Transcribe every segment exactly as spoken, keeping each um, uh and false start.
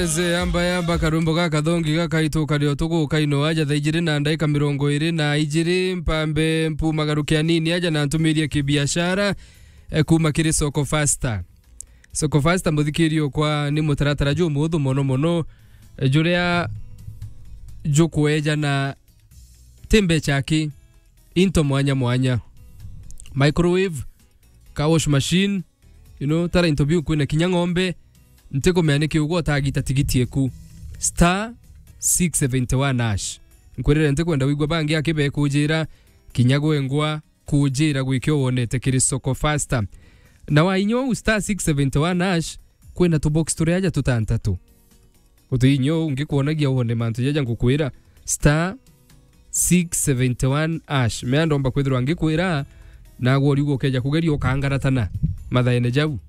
Eze yamba yamba karwimbo gaka thongi gakaitwo kario tugu kaino aja thaa ijiri na ndaika mirongo iri na ijiri, mpambe mpumagaruke anini aja na ntumirie kibiashara, eh, kuma kiri Soko Fasta. Soko Fasta, muthikirio kwa ni mutaratara jumuthu mono mono, eh, juria jukwejana ti mbecha ki, into mwanya mwanya. Microwave, car wash machine, you know, tara into biu kwina kinya ng'ombe, ntikumenya niki ugwa utagita tigiti eku. Star six seventy one hash. Nkwirire ntikwenda wigua bangi akibekujira, kinya gwengwa kujira gwikio wonete kiri Soko Fasta. Na wa inya uu star six seventy one hash, kwina tubox turia aja tutantatu. Uti inya uu ngikwonagia wone mantu jaja ngukwira, star six seventy one hash. Mea ndomba kwithirwa ngikwira, nagwe uriuga ukeja kugeria ukangaratana mathaene jau.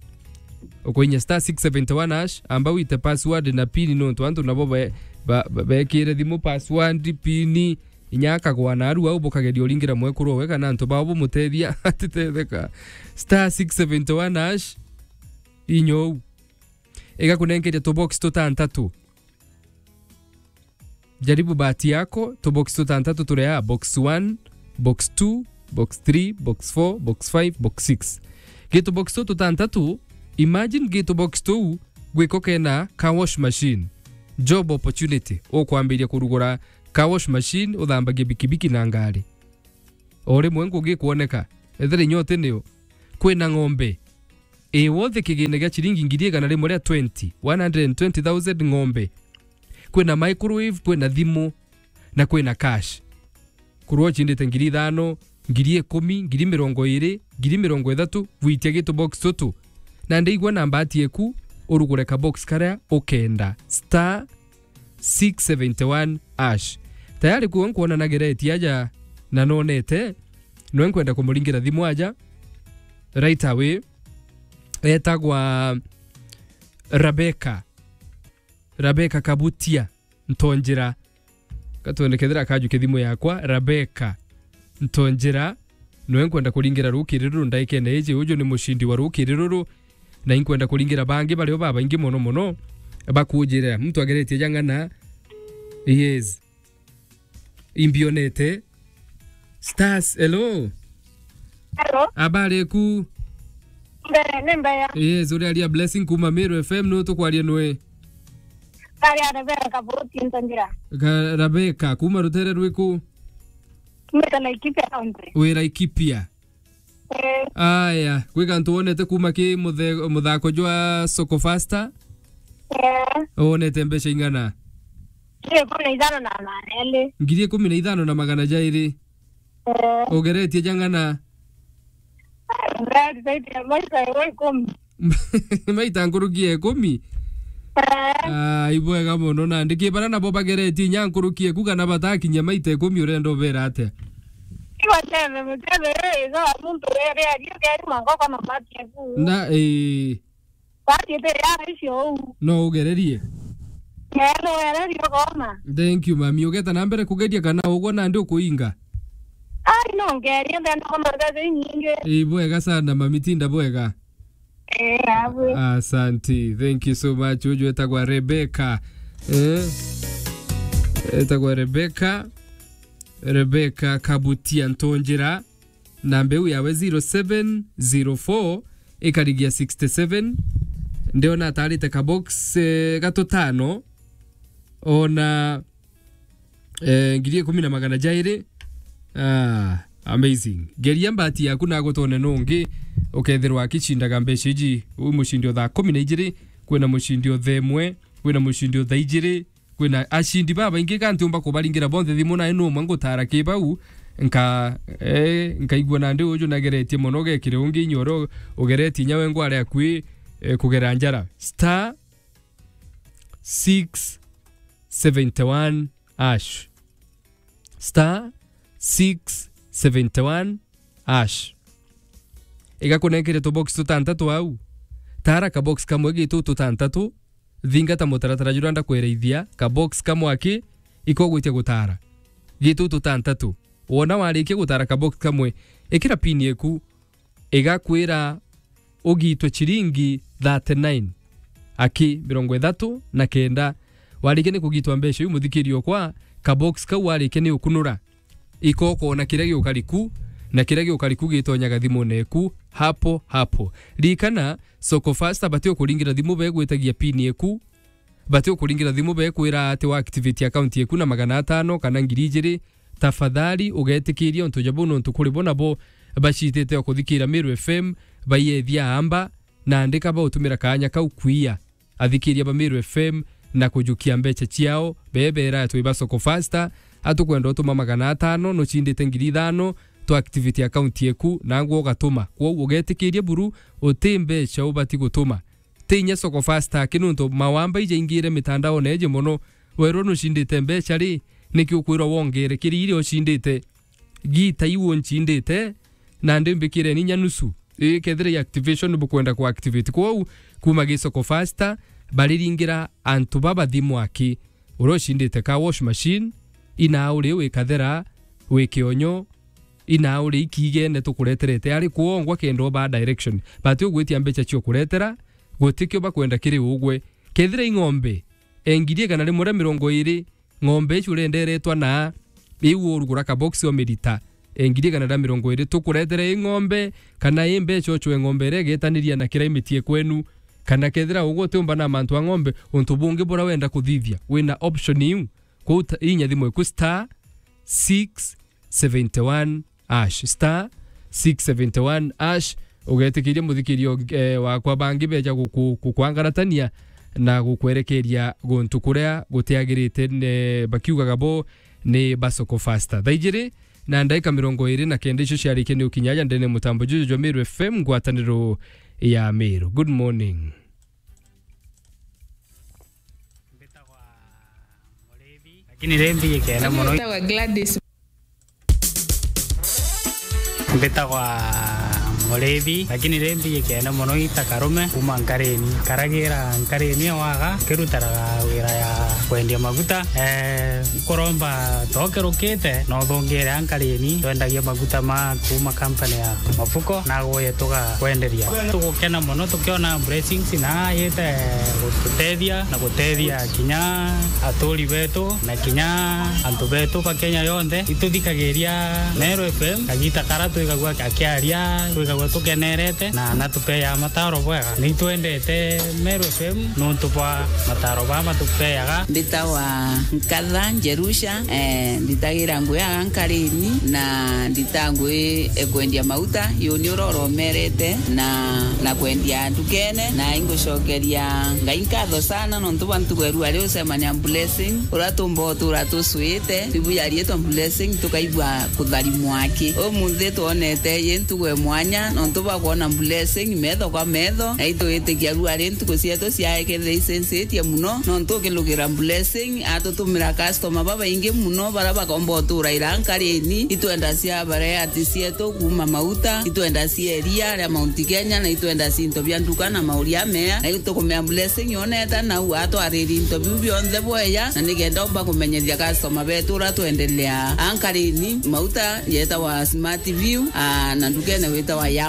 Ukuinya star six seventy one hash, amba wite password na pin, nontu antu nabo be-, ba-, ba-, bekire thimu password, pin, inya akagwa na aru au bukageria uringira mwekuru owe kana antu bao bumutethia atitetheka. Star six seventy one hash, inya uu. Igakunenkeria tubox tutantatu. Jaribu bahati yako, tubox tutantatu turia, box one, box two, box three, box four, box five, box six. Gitu box tu tutantatu, imagine gitu box tu gwiko kena car wash machine. Job opportunity, ukwambiria kurugura car wash machine, uthambagie bikibiki na ngari. O rimwe ngugi kwoneka, ethira inya uti nio, kwina ng'ombe. Ii, wothe kigina gia ciringi ngiri igana rimwe ria twenty, one hundred and twenty thousand ng'ombe. Kwina microwave, kwina thimu, na kwina cash. Kurwa ucindite ngiri ithano, ngiri ikumi, ngiri mirongo iri, ngiri mirongo ithatu, gwitia gitu box tutu. Na ndeigua na mbati eku, urugure ka box karia ukenda. Star six seventy one hash. Tayari kuo nkwona na gereti aja na nonete, nwe nkwenda kumuringira thimu aja right away. Etagwa Rebecca. Rebecca Kabutia Ntonjera. Katwende kethira akajukia thimu yakwa. Rebecca Ntonjera, nwe nkwenda kuringira rukiri ruru ndaikene iji. Uju ni mucindi wa rukiri ruru, na inkwenda kuringira bangi bario babaingi mono mono bakujirira. Muntu ageretie jang'ana. Yes. Imbionete. Stars, hello. Hello. Habari eku? Mbe, ni mbeya. Yes, uri aria Blessing kuma Meru F M, nu tukwaria nwe? Kari Rebecca Kabuti Ntonjera. Ka-, Rebecca, kuma rutere rwiku? Kumite Laikipia County. Wi Laikipia? Eh. Aya, kwi gantu wonete kuma ki muthe-, muthako jwa Soko Fasta? Eh. Wonete mbeca ing'ana? Ngiri ikumi na ithano na magana jairi. Ngiri ikumi na ithano na magana jairi? Eh. Ugeretie jang'ana? Ngeretie maita ikumi. Maita nkuruki ya ikumi? Eh. Ah, ibwega mono. Nandi ki bara nabo bageretie inya nkuruki eku kana batakinyia maita ikumi, urenda ubera atia? Ibatebe, mutebe, eh, iga muntu ere ario keri mangoko na bati eku. Na, eh. Bati ete ya icio uu. No ugererie? Eh, no ugererie ukona. Thank you, mami. Ugeta na mbere kugeria kana ugwa nandi ukuinga? Ai, no ngerie, ndenda kona mbeca inyingi. Ibwega sana, mami, tinda bwega. Eh, abwe. Asante. Thank you so much. Uju etagwa Rebecca. Eh? Etagwa Rebecca. Rebecca Kabutia Ntonjera. Namba iu yawe zero seven zero four ikarigia sixty seven. Ndiona atarite ka box, eh, gatutano. Ona eh, ngiri ikumi na magana jairi. Ah, amazing. Geria mbati yaku na gutone nungi, ukethirwa akicindaga mbeca iji. Wi mucindi o thaa kumi na ijiri, kwina mucindi o thaa imwe, kwina mucindi o thaa ijiri, kwina acindi babaingi, ka ntiumba kubaringira bonthe thimu, nae numwe ngutara ki bau, nka-, eh, nkaigua nandi uju nageretie mono, gekire ungi inya uria ugeretie inya we ngware akui, eh, kugera njara. Star six seventy one hash. Star six seventy one hash. Igakunenkere tubox tutantatu au. Tara kabox kamwe gitu tutantatu. Thingata mutaratara juria ndakweraithia. Kabox kamwe aki ikogwitia gutara. Gitu tutantatu. Wona warikia gutara kabox kamwe, ikira pin eku igakwira ugitwe chiringi thirty nine. aki mirongo ithatu na kenda. Warikia ni kugitwa mbeca iu, muthikiri okwa, kabox kau warikia ni ukunura, iko ukoona kiria giukari ku, na kiria giukari ku gitonyaga thimune eku hapo hapo. Ririkana, Soko Fasta bati ukuringira thimu begwitagia pin eku, bati ukuringira thimu bekwira ati wa activate account eku na magana atano kana ngiri ijiri. Tafadhali ugetikiria untu ja buu, nontu kuri bo nabo bacitite o kuthikira Meru F M, baiethia amba, na andika bautumira kaanya kau kwiya athikiria ba Meru F M na kujukia mbeca ciao. Bebera atwi ba Soko Fasta, atukwenda utuma magana atano, nucindite ngiri ithano, tu activate account eku, nangwa ugatuma. Kwou ugetikiria buru, uti mbeca ubati gutuma. Ti inya Soko Fasta aki, nontu mawamba ijaingire mitandaone iji mono. Werwo nucindite mbeca ri, niki ukwirwa wongere kiri iria ucindite? Gita iu uncindite, na ndi mbikireni inya nusu. Ii, kethira i activation bukwenda ku activate. Kwou, kuma gi Soko Fasta, bariringira antu babathi mwaki. Uria ucindite car wash machine, inaa uri wi kathera, wi kionyo, inaa uri ikiigene tukureterete, ari kwongwa kenda ubaa direction. Bati ugwitia mbeca cio kuretera, gutikio bakwenda kiri ugwe. Kethira i ng'ombe, e ngiri igana rimwe ria mirongo iri, ng'ombe icio urenderetwa na iu urugura kabox o mirita, e ngiri igana ria mirongo iri, tukuretere i ng'ombe, kana i mbeca ucwe ng'ombe iria igetaniria na climate e kwenu, kana kethira ugwe utiumba na mantu a ng'ombe, untu bungi buria wenda kuthithia, wina option iu. Kwou ta-, inya thimu eku star six seventy one hash, star six seventy one hash, ugetikiria muthikirio, eh, wakwa bangi beja guku-, gukwangaratania na gukwerekeria guntu kuria gutiagirite, ne, bakiugaga bo ni ba Soko Fasta. Thaa ijiri na ndaika mirongo iri na kenda icio ciarikia ni ukinya aja ndene mutambo juju jwa Meru F M, ngwataniro ya Meru. Good morning. Mbitagwa Murithi, lakini ri mbijikene mono. Mbitagwa Gladys. Mbitagwa Murithi, lakini ri mbijikene mono ita Karume, kuma Nkarini. Karagira Nkarini awaga, kirutaraga wira ya kwendia maguta. Eh, nkuromba tokirukite, no thungire a Nkarini, twendagia maguta ma kuma company ya Mafuko, na guye tugakwenderia. Tugukena mono tukiona blessings na yite gututethia na gutethia kinya aturi betu na kinya antu betu ba Kenya yonthe. Ituthikagiria Meru F M, kagita kara twigagua akiaria, twigagua tukenerete na natupeaga mataro bwega. Nitwendete Meru F M nontu bwa mataro baa matupeaga. Mbitawa Nkatha Njerusha, eh, nditagira ngui aga Nkarini na ndita ngui e kwendia mauta, yuni uroromerete na, na kwendia ndukene, na ingucokeria Ngai nkatho sana nontu bwa ntugo eru ari ucemania Blessing, uria tumba utura tucwite, ibuya rietwa Blessing, tukaigua kutharimwa aki. Umunthi twonete yi ntugo e mwanya nontu bwa kwona Blessing metho kwa metho, na itwitikia ru ari ntuku cietu ciae kethira icencetie muno, nontu ukilugira Blessing atutumira customer babaingi muno, baria bakomba utura ira Nkarini. Itwenda cia variety cietu kuma mauta, itwenda cia iria ria Mount Kenya, na itwenda cinto bia nduka na mauria mea, na itukumea Blessing yoneta nau atwariri into biu bionthe bweya, na nikenda umba kumenyethia customer betu uria twendelea a Nkarini. Mauta yetawa Smart View, aa, na ndukene witawa Yama.